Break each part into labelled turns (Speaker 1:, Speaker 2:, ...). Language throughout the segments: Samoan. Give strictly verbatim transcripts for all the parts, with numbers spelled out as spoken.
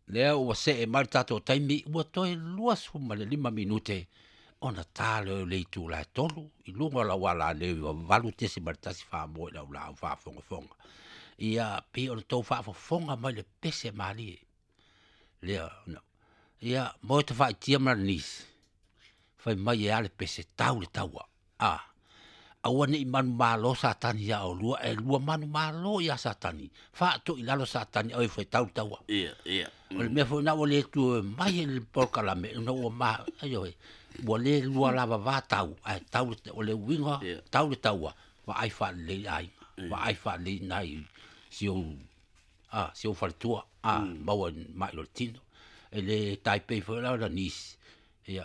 Speaker 1: Lea ua see mai le tatou taimi ua toe luasefulu ma le lima minute ona ta lea o le itula e tolu i luga o lau alaleo iva valu tesima le tasi faamoe i lau laau faafogafoga. Ia pei ona tou faafofoga mai le pese malie. Lea na ia mo te faaitia ma le nisi fai mai e a le pese tau le taua. A aua nei manumalo Satani ia olua, e lua manumalo ia Satani. Faatoi lalo Satani au e fai tau le taua.
Speaker 2: Ia, ia.
Speaker 1: O le mea foi na ua le tu mai e le polokalame, ona ua ma, aio e, ua le lua lava va tau, ae tau le, o le uiga,
Speaker 2: Ia.
Speaker 1: tau le taua, vaai faalelei aiga,
Speaker 2: Ia.
Speaker 1: vaai faalelei nai si ou, a, si ou faletua, a,
Speaker 2: Mm.
Speaker 1: maua mai lo le tino. E le taipei foi la o la nisi, ia,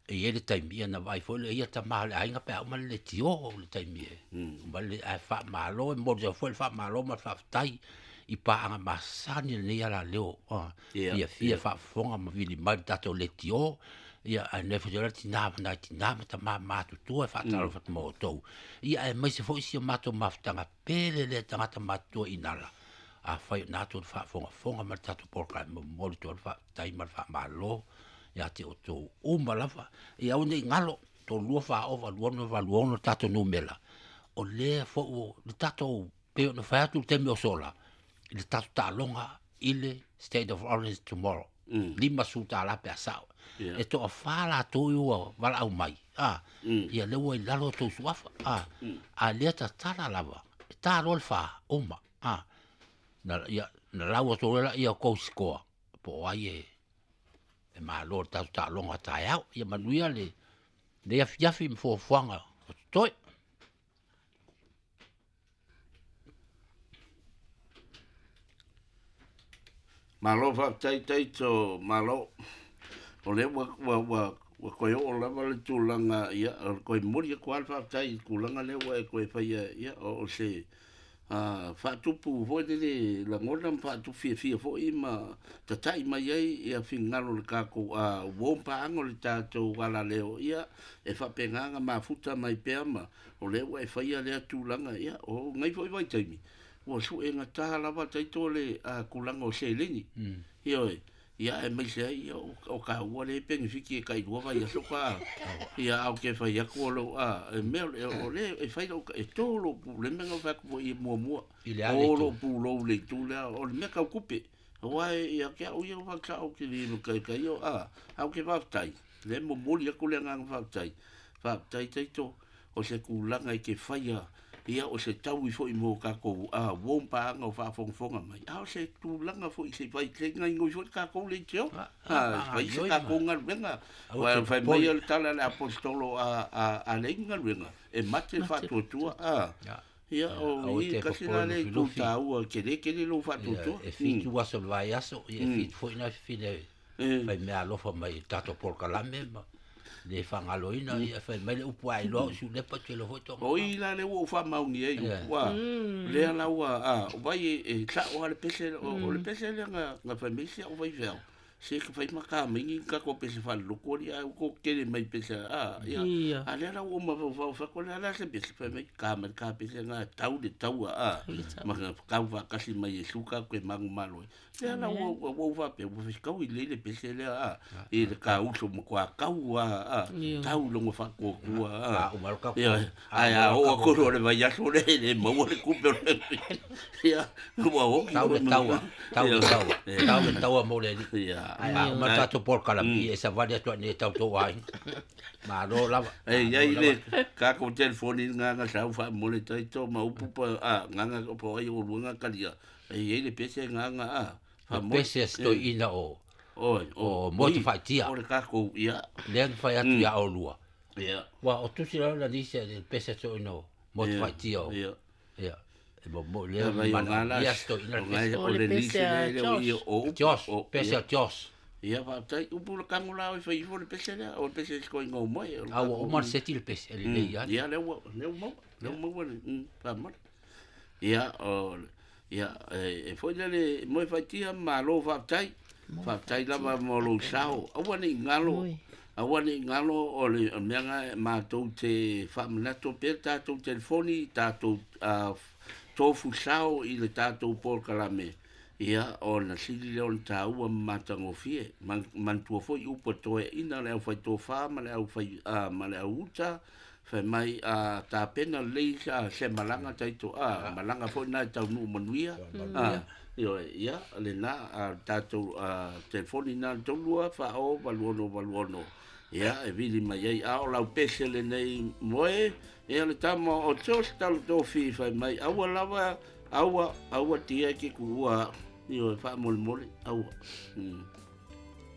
Speaker 1: e i ai le taimi, ia na vaai foi le ia tama o le aiga pe a uma le le tio o le taimi e.
Speaker 2: Mm.
Speaker 1: Uma le, ae faamalo, e momoli atu foi le faamalo ma le faafetai i paaga masani lenei alaleo, a,
Speaker 2: Ia,
Speaker 1: fiafia
Speaker 2: ia.
Speaker 1: faafofoga ma vili mai le tatou leitio, ia, ae le foi la tina ma nai tina ma tama matutua e faatalofa atu ma outou. Ia, aemaise foi si o matou mafutaga pele lea tagata matutua i Nala. Afai o na atu le faafogafoga ma le tatou polokalame, momoli atu le faafetai ma le faamalo ia te outou uma lava. Ia aua nei galo, tolu lua fa ova, lua ono valu ono le tatou numera. O lea foi ua le tatou, pei ona fai atu le taimi o sola, i le tatou taaloga i le State of Orange tomorrow.
Speaker 2: Mm.
Speaker 1: Lima su tala pe a sao.
Speaker 2: Ia.
Speaker 1: E toa wha latou i ua valaau mai. Ah,
Speaker 2: Mm.
Speaker 1: ia lea ua i lalo o tou suafa. Ah,
Speaker 2: Mm.
Speaker 1: a lea tatala lava. E tā loa le wha, uma. Ah, na, ia, na lau atu lela ia kou sikoa. Po o ai e, e malo le tatou taaloga taeao. Ia manuia le, le afiafi ma fuafuaga o totoe.
Speaker 2: Malo faafetai taito, malo. O lea ua, ua, ua, ua koe oo lava le tulaga, ia, o le koe momoli atu lava le faafetai i le tulaga lea ua e koe faia, ia, o, o se, a, faatupu foi lele lagona ma faatupu fiafia foi ma tatai mai ai ia finagalo o le tatou, a, uo ma paaga o le tatou alaleo, ia, e faapena ona mafuta mai pea ma o lea ua e faia lea tulaga, ia, o ngai foi vaitaimi, ua suegata lava taito le, a, tulaga o seleni.
Speaker 1: Mm.
Speaker 2: Ia oe, ia e mai se ai, ia, o, o ka ua le penefiti e kai lua vai aso ka, ia, au ke fai aku o lo, a, e mea, e, o le, e fai lau, e tō lo pu, le mea ngau fai aku po i mua mua.
Speaker 1: I le ale
Speaker 2: Tō
Speaker 1: tu.
Speaker 2: lo pu lo le tu lea, o le mea kau kupe. O ai, ia, kia o ia whakao o ke li mo kai kai o, a, au ke whaftai. Le mo moli aku le nganga whaftai. Whaftai taito, o se kūlanga i ke whaia, ia o se taui foi mo kākou, a, uo mpaanga o whaafongafonga mai. A, o se tūlanga foi se whai te ngai ngoi foi kākou le teo.
Speaker 1: Ah,
Speaker 2: A,
Speaker 1: ah,
Speaker 2: whai se
Speaker 1: ioi
Speaker 2: kākou
Speaker 1: ma.
Speaker 2: ngaluenga.
Speaker 1: Au
Speaker 2: Wai,
Speaker 1: te
Speaker 2: whai
Speaker 1: poli.
Speaker 2: mai o le tala le apostolo a, a, a le ngaluenga. E mate
Speaker 3: Mate.
Speaker 2: whaatuatua, a.
Speaker 1: Ia.
Speaker 2: Ia, o
Speaker 1: Au
Speaker 2: i
Speaker 1: te
Speaker 2: kasi
Speaker 1: popole
Speaker 2: la le
Speaker 1: lufilufi.
Speaker 2: tū tāua, kele kele lo whaatuatua.
Speaker 1: Ia, e fitu aso le vai aso, ia e
Speaker 2: Mm.
Speaker 1: fitu foi na fine
Speaker 2: Eh.
Speaker 1: fai mea alofa mai i tatou polokalame ma le fagaloina, ia fai mai le upu ai loa o siulepa te lo foi tonga.
Speaker 2: O i la le ua o whamaungi ai,
Speaker 1: Ia.
Speaker 2: ua, lea la ua, a, o vai e, e sao a le pese, o, o le pese lea nga, nga whai mai se o vai whiao. Se ka whai maka mingi ka ko pese whare loko ri, a ko kere mai pese, a, ia.
Speaker 3: Ia.
Speaker 2: A lea la ua ma whau whau whako lea la se pese whai mai ka mai ka pese nga tau le taua, a,
Speaker 3: Tau le taua.
Speaker 2: ma nga kau whakasi mai e suka koe mangu malo. Lea la ua, ua, ua whape, ua whiskau i le le pese lea, a, i le ka uso mo kua kau, a, a,
Speaker 3: Ia.
Speaker 2: tau longo whakuakua, a.
Speaker 1: A, uma lo ka
Speaker 2: Ia, ai a o akoro o le vai aso le, le maua le kupe o le. Ia, ua oki.
Speaker 1: Tau le taua, tau le taua, tau le taua mo le alii.
Speaker 2: Ia.
Speaker 1: Ai, a uma tatou polokalame, ia e savali atu ai nei tau tou aiga. Malo lava.
Speaker 2: Ei,
Speaker 1: Malo
Speaker 2: ai le,
Speaker 1: lava.
Speaker 2: kākou telefoni nganga sau whaamole taito ma upu pa, a, nganga po ai o luanga kalia. Ei, ei le pese nganga, a,
Speaker 1: Le
Speaker 2: whaamole.
Speaker 1: pese a se toeaina o,
Speaker 2: Oi,
Speaker 1: o Motu
Speaker 2: oi,
Speaker 1: Faaitia.
Speaker 2: O le kākou, ia.
Speaker 1: Lea na fai atu ia olua.
Speaker 2: Ia.
Speaker 1: Ua, o tusi lau la nisi a le pese a toeaina o Motu
Speaker 2: Ia,
Speaker 1: Faaitia o.
Speaker 2: Ia.
Speaker 1: Ia. E mo mo
Speaker 2: Ia
Speaker 1: lea
Speaker 2: vai o
Speaker 1: mana,
Speaker 2: ngala,
Speaker 1: ia se toeaina
Speaker 2: o
Speaker 1: le
Speaker 2: ngai
Speaker 1: pese.
Speaker 2: o
Speaker 3: O le
Speaker 2: le
Speaker 3: pese
Speaker 2: nisi
Speaker 3: a
Speaker 2: le le o ia
Speaker 3: Josh.
Speaker 2: o upu,
Speaker 1: Josh,
Speaker 2: o,
Speaker 1: pese
Speaker 2: ia.
Speaker 1: a Josh.
Speaker 2: Ia whaatai, upu le kango la o whai ifo le pese lea, o le pese se koe ngau mai. O le
Speaker 1: A ua
Speaker 2: kākou-
Speaker 1: uma le seti le pese, e lelei
Speaker 2: Mm,
Speaker 1: ai.
Speaker 2: Ia, lea ua, lea ua maua, lea ua maua le, mm, whaamara. Ia, o, ia, e, e foi lea le moe whaitia, malo whaatai, whaatai lava mo lou sao. Aua nei ngalo,
Speaker 3: Oi.
Speaker 2: aua nei ngalo o le o mea nga mātou te whaamanato pea tātou telefoni, tātou uh, tofu sao i le tātou polokalame. Ia ona sili lea ona taua ma matagofie. Manatua foi upu a toeaiina, le aufaitofa ma le aufai ma le auuta, fai mai a tapena lelei se malaga taito a malaga foi na e taunuu manuia. A ioe, ia lena a tatou telefoni na tolu lua fa o valu ono valu ono, ia e vili mai ai a o lau pese lenei moe. Ia le tama o Jos talo tofi fai mai aua lava aua aua tia ke kuua ioe faamolemole aua. Mm.